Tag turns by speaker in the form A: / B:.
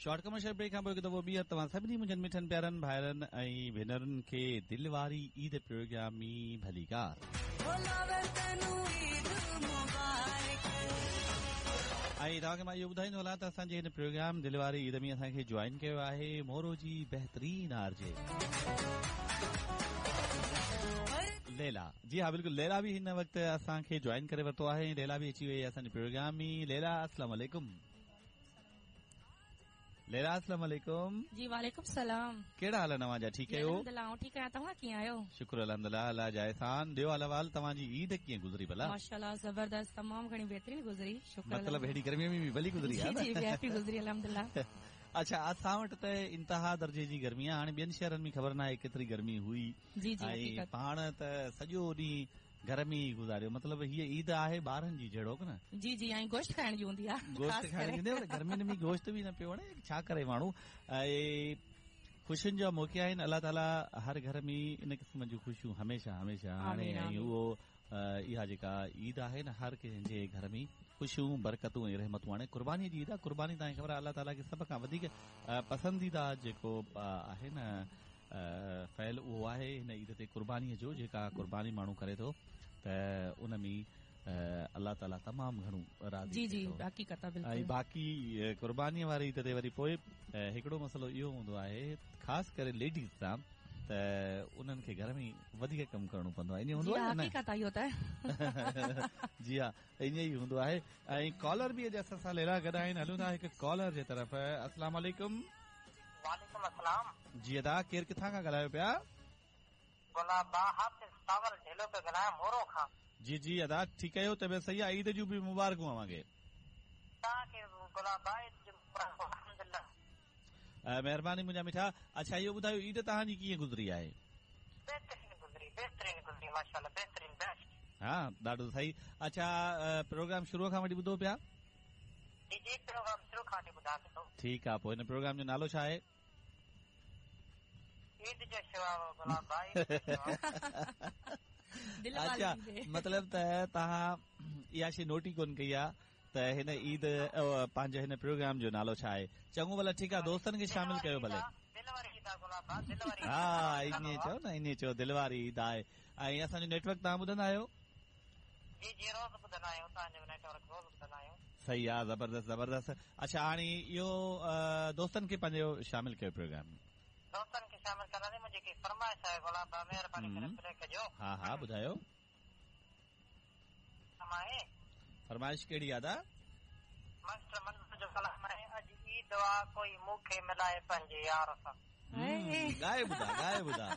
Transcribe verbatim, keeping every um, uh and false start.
A: Short commercial brake खां पोइ हिकु दफ़ो ॿीहर तव्हां सभिनी मुंहिंजनि मिठनि प्यारनि भाइरनि ऐं भेनरुनि खे दिलि वारी ईद प्रोग्राम में भलीकार। ऐं तव्हांखे मां इहो ॿुधाईंदो हलां त असांजे हिन प्रोग्राम दिलि वारी ईद में असांखे जॉइन कयो आहे मोरो जी बहितरीन आरजे लैला। जी हा बिल्कुलु, लैला बि हिन वक़्तु असांखे जॉइन करे वरितो आहे। लैला बि अची वई आहे असांजे प्रोग्राम में। लैला अस्सलाम वालेकुम। लैला अस्सलाम वालेकुम।
B: जी वालेकुम सलाम।
A: कहिड़ा हाल आहिनि तव्हांजा? ठीकु आहियो?
B: अल्हम्दुलिल्लाह, आउं ठीकु आहियां। तव्हां कीअं आहियो?
A: शुक्र अल्हम्दुलिल्लाह, अलाह जा एहसान। ॾियो हाल अहिवाल, तव्हांजी ईद कीअं गुज़री भला?
B: माशाअल्लाह ज़बरदस्त, तमामु घणी बहितरीन गुज़री, शुक्र।
A: मतिलबु हेॾी गर्मीअ में बि भली गुज़री आहे?
B: जी जी, वीआईपी गुज़री अल्हम्दुलिल्लाह।
A: अच्छा, असां वटि त इंतिहा दर्जे जी गर्मी आहे। हाणे ॿियनि शहरनि में ख़बर न आहे केतिरी गर्मी हुई।
B: जी जी,
A: ऐं पाण त सॼो ॾींहुं घर में ई गुज़ारियो। मतिलबु हीअ ईद आहे ॿारनि जी जहिड़ो न?
B: जी जी, ऐं गोश्त खाइण जी हूंदी आहे।
A: गोश्त खाइण जी हूंदी आहे, पर गर्मियुनि में गोश्त बि न पियो वणे, छा करे माण्हू। ऐं ख़ुशियुनि जा मौक़ा आहिनि, अलाह ताला हर घर में इन क़िस्म जूं ख़ुशियूं हमेशह हमेशह आणे। ऐं उहो इहा जेका ईद आहे न, हर कंहिंजे घर में ख़ुशियूं, बरकतूं ऐं रहमतूं आणे। कुर्बानी जी ईद आहे। कुर्बानी तव्हांखे ख़बर आहे अलाह ताला खे सभ खां वधीक पसंदीदा जेको आहे न फ़ैल, उहो आहे हिन ईद ते कुर्बानीअ जो। जेका कुर्बानी माण्हू करे थो त उन में अलाह ताला तमामु घणो राज़ी।
B: जी जी, हक़ीक़त आहे।
A: ऐं बाक़ी कुर्बानीअ वारी ईद ते वरी पोइ हिकिड़ो मसइलो इहो हूंदो आहे ख़ासि करे लेडीज़ सां, त उन्हनि खे घर में वधीक कमु करिणो पवंदो आहे। ईअं हूंदो आहे न?
B: हक़ीक़त आहे इहो त।
A: जी हा, ईअं ई हूंदो आहे। ऐं कॉलर बि अॼु असां सां लैला गॾु आहिनि। हलूं था हिकु कॉलर जे तरफ़। अस्सलाम वालेकुम।
C: वालेकुम अस्सलाम।
A: जी अदा, केरु किथां खां ॻाल्हायो पिया?
C: गुलाब हाफ़िज़ सावल ढेलो पियो ॻाल्हायां, मोरो खां।
A: जी जी अदा, ठीकु आहियो? तबियत सही आहे? ईद जूं बि मुबारकूं अव्हांखे।
C: तव्हांखे गुलाब ईद जूं मुबारकूं। अल्हम्दुलिल्लाह,
A: महिरबानी मुंहिंजा मिठा। अच्छा, इहो ॿुधायो ईद तव्हांजी कीअं गुज़री आहे?
C: बहितरीन गुज़री, बहितरीन गुज़री माशाअल्लाह, बहितरीन, बेस्ट।
A: हा, ॾाढो सही। अच्छा, प्रोग्राम शुरू खां वठी ॿुधो पिया?
C: जी जी, प्रोग्राम शुरू खां वठी ॿुधां पियो।
A: ठीकु आहे, पोइ हिन प्रोग्राम जो नालो छा आहे?
C: ईद जो शुआओ गुलाब भाई।
A: अच्छा, मतिलबु त तव्हां इहा शइ नोट ई कोन कई आहे त हिन ईद पंहिंजे हिन प्रोग्राम जो नालो छा आहे। चङो भला, ठीकु आहे, दोस्तनि खे शामिल कयो भले। हा, ईअं चओ न, ईअं चओ, दिलि वारी ईद आहे। ऐं असांजो नेटवर्क तव्हां ॿुधंदा आहियो?
C: जी जी, रोज़ ॿुधंदा आहियूं तव्हांजो नेटवर्क, रोज़ ॿुधंदा आहियूं।
A: सही आहे, ज़बरदस्त ज़बरदस्त। अच्छा, हाणे इहो दोस्तनि खे पंहिंजो शामिल कयो प्रोग्राम में।
C: दोस्तनि खे शामिल कंदासीं। मुंहिंजी हिकिड़ी फरमाइश आहे गुलाब, महिरबानी करे प्ले कजो।
A: हा हा, ॿुधायो।
C: आहे
A: फरमाइश कहिड़ी आहे अदा?
C: मास्टर मंज़ूर जो कलाम आहे, अॼु ईद आ कोई मूंखे मिलाए पंहिंजे यार सां।
A: ॻाए ॿुधा, ॻाए ॿुधा।